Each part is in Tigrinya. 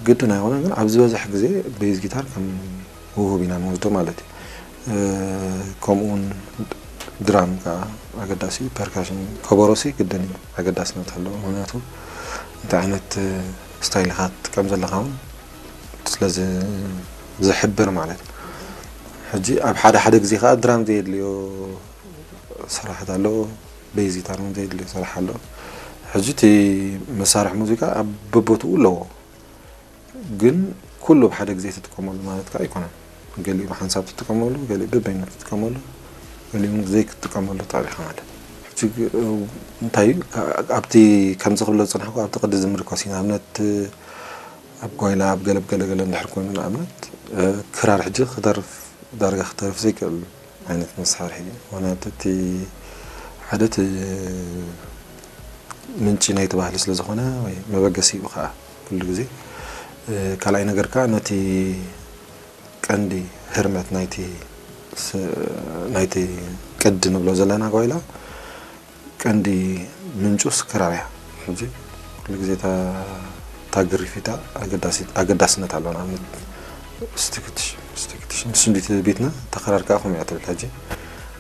ግድን ኣይኮነን፣ ግን ኣብ ዝበዝሕ ግዜ ቤዝ ጊታር ከም ውሁብ ኢና ንወስዶ ማለት እዩ። ከምኡውን ድራም ከዓ ኣገዳሲ፣ ፐርካሽን፣ ከበሮሲ ግድን እዩ፣ ኣገዳስነት ኣለዎ። ምክንያቱ እንታይ ዓይነት ስታይል ኢኻ ትጥቀም ዘለኻ እውን ስለዚ ዝሕብር ማለት እዩ። ሕጂ ኣብ ሓደ ሓደ ግዜ ከዓ ድራም ዘየድልዮ ስራሕት ኣሎ፣ ቤዝ ጊታር እውን ዘየድልዮ ስራሕ ኣሎ። ሕጂ እቲ መሳርሒ ሙዚቃ ኣብ በቦትኡ ኣለዎ። ግን ኩሉ ብሓደ ግዜ ትጥቀመሉ ማለት ከዓ ኣይኮነን። ገሊኡ ብሓንሳብ ትጥቀመሉ፣ ገሊኡ በበይኑ ትጥቀመሉ፣ ገሊኡ እውን ዘይክትጥቀመሉ ታሪኻ ማለት። ሕጂ እንታይ እዩ፣ ኣብቲ ከምዚ ክብሎ ዝፅናሕኩ ኣብቲ ቅዲ ዝምርኮስ እዩ። ንኣብነት ኣብ ጓይላ ኣብ ገለብ ገለ ገለ እንድሕር ኮይኑ ንኣብነት ክራር ሕጂ ክደርፍ ዳርጋ ክተርፍ ዘይክእል ዓይነት መሳርሒ እዩ። ምክንያቱ እቲ ሓደ እቲ ምንጪ ናይቲ ባህሊ ስለ ዝኾነ ወይ መበገሲኡ ከዓ ኩሉ ግዜ። ካልኣይ ነገር ከዓ ነቲ ቀንዲ ህርመት ናይቲ ናይቲ ቅዲ ንብሎ ዘለና ጓይላ ቀንዲ ምንጩስ ክራር እያ። ሕጂ ኩሉ ግዜ እታ ግሪፊታ ኣገዳስነት ኣለዋ። ንኣብነት ስቲክትሽ ስቲክትሽ ንስንዲት ቤትና ተኸራር ከዓ ከምኡ እያ ትብል። ሕጂ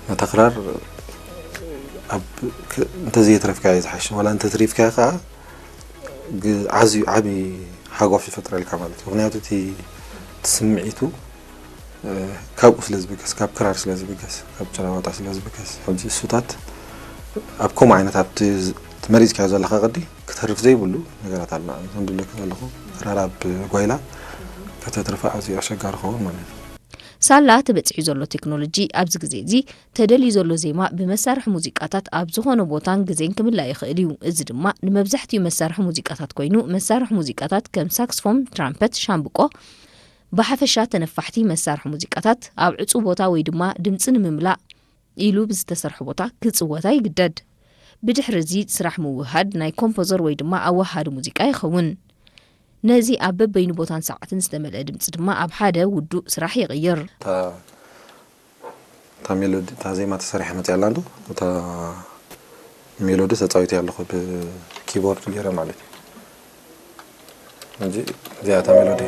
ነታ ክራር እንተዘየትረፍካያ ዝሓሽ፣ ዋላ እንተትሪፍካያ ከዓ ኣዝዩ ዓብዪ ሓጓፍ ይፈጥረልካ ማለት እዩ። ምክንያቱ እቲ ስምዒቱ ካብኡ ስለ ዝብገስ፣ ካብ ክራር ስለ ዝብገስ፣ ካብ ጭራዋጣ ስለ ዝብገስ፣ ሕጂ እሱታት ኣብ ከምኡ ዓይነት ኣብቲ መሪፅካዮ ዘለካ ቅዲ ክተርፍ ዘይብሉ ነገራት ኣሎ። ንኣብነት ዝብለካ ዘለኹ ክራር ኣብ ጓይላ ከተትርፋ ኣዝዩ ኣሸጋሪ ክኸውን ማለት እዩ። ሳላ ተበፂሑ ዘሎ ቴክኖሎጂ ኣብዚ ግዜ እዚ ተደልዩ ዘሎ ዜማ ብመሳርሒ ሙዚቃታት ኣብ ዝኾነ ቦታን ግዜን ክምላእ ይኽእል እዩ። እዚ ድማ ንመብዛሕትኡ መሳርሒ ሙዚቃታት ኮይኑ፣ መሳርሒ ሙዚቃታት ከም ሳክስፎን፣ ትራምፐት፣ ሻምብቆ፣ ብሓፈሻ ተነፋሕቲ መሳርሒ ሙዚቃታት ኣብ ዕጹው ቦታ ወይ ድማ ድምጺ ንምምላእ ኢሉ ብዝተሰርሐ ቦታ ክጽወታ ይግደድ። ብድሕሪ እዚ ስራሕ ምውህሃድ ናይ ኮምፖዘር ወይ ድማ ኣወሃሃዲ ሙዚቃ ይኸውን። ነዚ ኣብ በበይኑ ቦታን ሰዓትን ዝተመልአ ድምጺ ድማ ኣብ ሓደ ውዱእ ስራሕ ይቕይር። እታ ሜሎዲ እታ ዜማ ተሰሪሓ መፅያ ኣላ እንዶ እታ ሜሎዲ ተፃዊተ ኣለኹ ብኪቦርድ ገይረ ማለት እዩ። ሕጂ እዚኣ እታ ሜሎዲ